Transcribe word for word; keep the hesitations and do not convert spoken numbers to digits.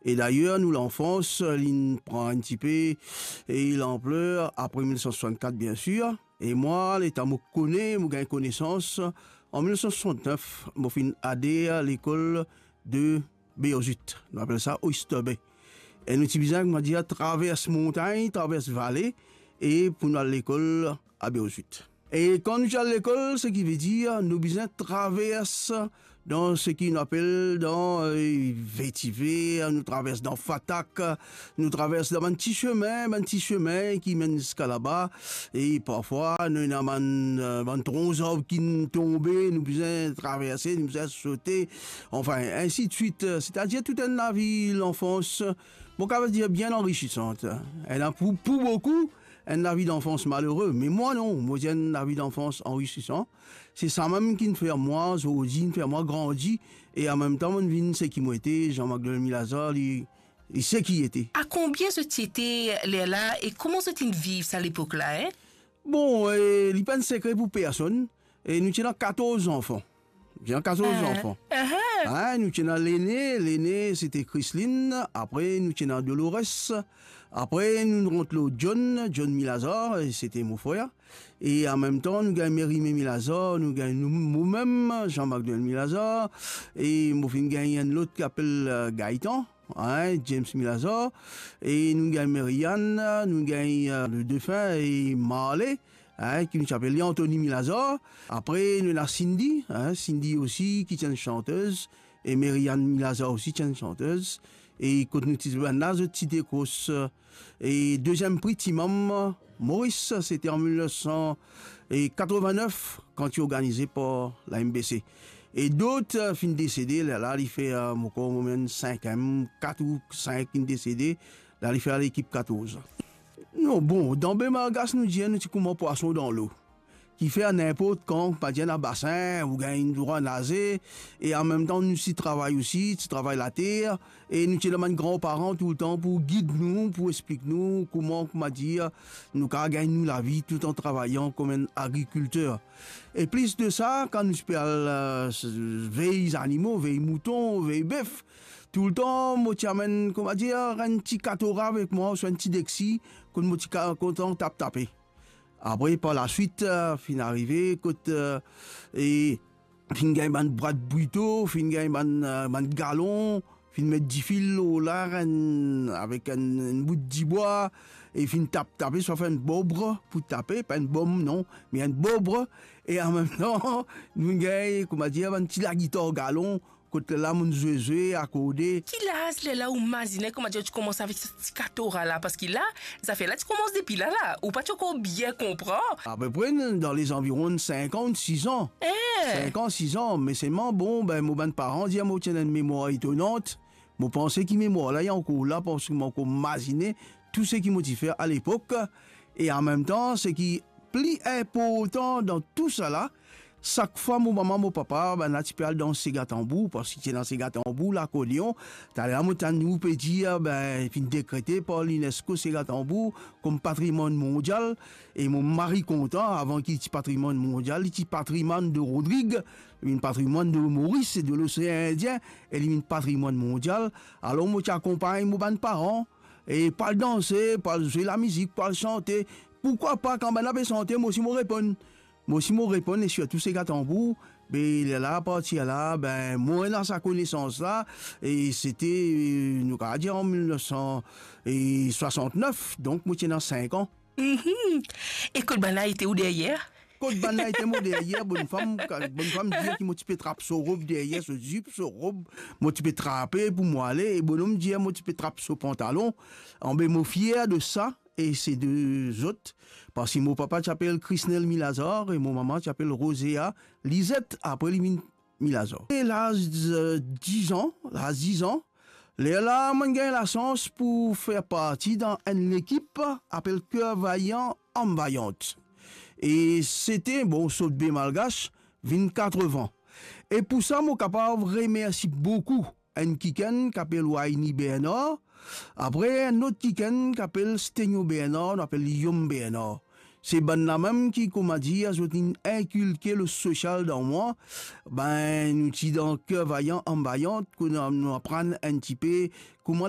E dayer, nou lanfans, linn pran enn tipe, e lanpler apre mil nef san swasannkat, bien sir. E mwa, letan mo kone, mo gagn konesans, an mil nef san swasannef, mo finn ader lekol de Beozit. Nou apel sa Oyster Bay. E nou ti bizin, koumadir, travers montagn, travers vale, e pou nou al lekol a Beozit. E kan nou ti al lekol, seki vedir, nou bizin travers dan seki nou apel dan, eh, vetiver, nou travers dan fatak, nou travers dan bann ti semin, bann ti semin ki menn ziska laba, e parfwa nou ena bann, eh, bann tronk zarb ki tonbe, nou bizin traverse, nou bizin sote, anfin, ensi de swit. Setadir tou enn lavi lanfans, mo kapav dir, bien anrisisan. Ena pou, pou boukou, enn lavi danfans malere, me mwa non, mo ti enn lavi danfans anrisisan. Se samem ki'nn fer mwa zordi, inn fer mwa grandi, e anmemtan mo'nn vinn seki mo ete. Jean Magloire Milazar, li, li seki li ete. A konbien zot ti ete lerla e kouma zot inn viv sa lepok la, en? Bon, e, li pa enn sekre pou personn, e nou ti ena katorz zanfan. Nou ti ena katorz zanfan. Ah, nou ti ena lene, lene sete Chrisline, apre nou ti ena Dolores, apre nou rant lor John, John Milazar, e sete mo frer. E anmemtan, nou gagn Mérimée Milazar, nou gagn nou, momem, Jean Magloire Milazar, e mo finn gagn enn lot ki apel, eh, Gaëtan, hein, James Milazar, e nou gagn Marianne, nou gagn, eh, le défunt e Marley, hein, ki nou ti apel li Anthony Milazar. Apre, nou ena Cindy, hein, Cindy osi, ki ti enn santez, e Marianne Milazar osi ti enn santez. E kot nou ti bann la, zot ti dekros, e deziem pri Ti Mam Moris, sete an mil nef san katrevin-nef, kan ti organize par la M B C. E dot, eh, finn desede, lerla li fer, eh, mo krwar, mo menm senkem, kat ou sink finn desede, la li fer lekip katorz. Non, bon, dan Be Malgash, nou dir, nou ti kouma pwason dan lo. Kifer ninport kan, pa dir ena basin, ou gagn drwa naze, e anmemtan nou ti travay osi, ti travay later, e nou ti ena bann granparan toultan pou gid nou, pou explik nou kouma, kouma dir, nou kav gagn nou lavi toultan travayan kouma enn agrikilter. E plis de sa, kan nou ti pe al, eh, s-, vey zanimo, vey mouton, vey bef, toultan mo ti amenn, kouma dir, enn ti katora avek mwa, ouswa enn ti deksi, kot mo ti ka-, kontan tap tape. Apre, par laswit, eh, finn arive kot, eh, e finn gagn bann bwat bwito, finn gagn bann, eh, bann galon, finn met difil lor la, enn, avek enn, enn bout dibwa, e finn tap tape, swa fer enn bobre pou tape, pa enn bom non, me enn bobre, e anmemtan, nou gagn, kouma dir, bann ti lagitar galon, kot lerla mo'nn zwe, zwe, akorde. Ki laz lerla ou mazine, kouma dir, ou ti koumans avek sa ti katora la? Parski la, zafer la ti koumans depi la, la. Ou pa ti ankor bien konpran. Apepre, dan lezanviron sink an, sis an. Eh! Sink an, sis an. Me selman, bon, be, mo bann paran dir mo ti ena enn memwar etonan. Mo panse ki memwar la, li ankor la, parski mo ankor mazine tou seki mo ti fer alepok. E anmemtan, seki pli inportan dan tou sa la, sak fwa mo mama, mo papa, bann la ti pe al dan sega tanbour, parski ti ena sega tanbour, lakordeon. Taler mo tann ou pe dir, be, finn dekrete par l'UNESCO sega tanbour kom patrimwann mondial. E mo mari kontan, avan ki li ti patrimwann mondial, li ti patrimwann de Rodrig, li vinn patrimwann de Moris e de Losean Indien, e li vinn patrimwann mondial. Alor mo ti akonpagn mo bann paran, e pou al danse, pou al zwe lamizik, pou al sante. Poukwa pa, kan bann la pe sante, mo osi mo reponn. Mo osi mo reponn, e sirtou sega tanbour. Be lerla, apartir la, be, mo ena sa konesans la, e sete, eh, nou kav dir an mil nef san swasantnef, donk mo ti ena sink an. Mhm. E kot bann la ete ou deryer? Kot bann la ete mo deryer, bonn fam, ka-, bonn fam dir ki mo ti pe trap so rob deryer, so zip, so rob, mo ti pe trape pou mo ale, e bonom dir mo ti pe trap so pantalon. Anben, mo fier de sa, e se de zot, parski mo papa ti apel Krisnel Milazar e mo mama ti apel Rosea Lizet, apre li vinn Milazar. E laz, eh, diz an, laz diz an, lerla mo'nn gagn lasans pou fer parti dan enn lekip apel Cœur Vaillant, Âme Vaillante. E sete, bon, sot Be Malgash, vinn katrevin. E pou sa, mo kapav remersi boukou enn kikenn ki apel Wayne Bernard, apre enn lot kikenn ki apel Stenio Bernard, nou apel li Yom Bernard. Se bann la mem ki, kouma dir, zot inn inkilke le sosial dan mwa. Ben, nou ti dan Cœur Vaillant, Âme Vaillante, kot nou aprann enn tipe kouma